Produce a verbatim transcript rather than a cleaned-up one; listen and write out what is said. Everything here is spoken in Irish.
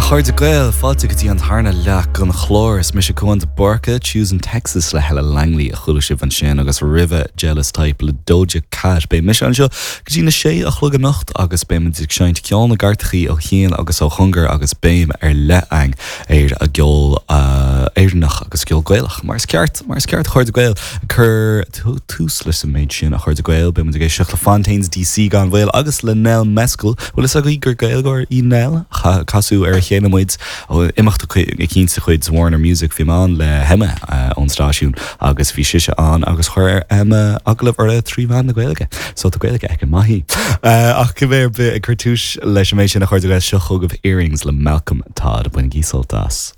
chairde Gael fáilte go dtí an tarna leath den chlár is mise Cuán de Búrca Choosing Texas le Helen Langley a chuala sibh ansin agus roimhe Jealous Type le Doja Cat Beidh mise anseo go dtí na sé a chlog anocht agus beimid ag seinnt ceol na gcairteacha ó chian agus ó chóngar agus béim ar leith ar an gceol uh, Éireannach agus ceol Gaelach mar is ceart mar is ceart chairde Gael cur tús leis an méid sin a chairde Gael beimid ag éisteacht le Fontaines DC gan mhoill agus le Nell Mescal bhfuil fhios agaibh gur Gaeilgeoir í Nell casadh ar a chéile muid ó imeacht eicínt de chuid Warner Music bhí mé le hEmma ón stáisiún agus bhí sise ann agus chuir Emma agallamh uirthi trí mheán na Gaeilge, so tá Gaeilge aici maith. Ach go bhféir ag cur tús leis an méid sin a chairde seo chugaibh Earrings le Malcolm Todd bainigí sult as.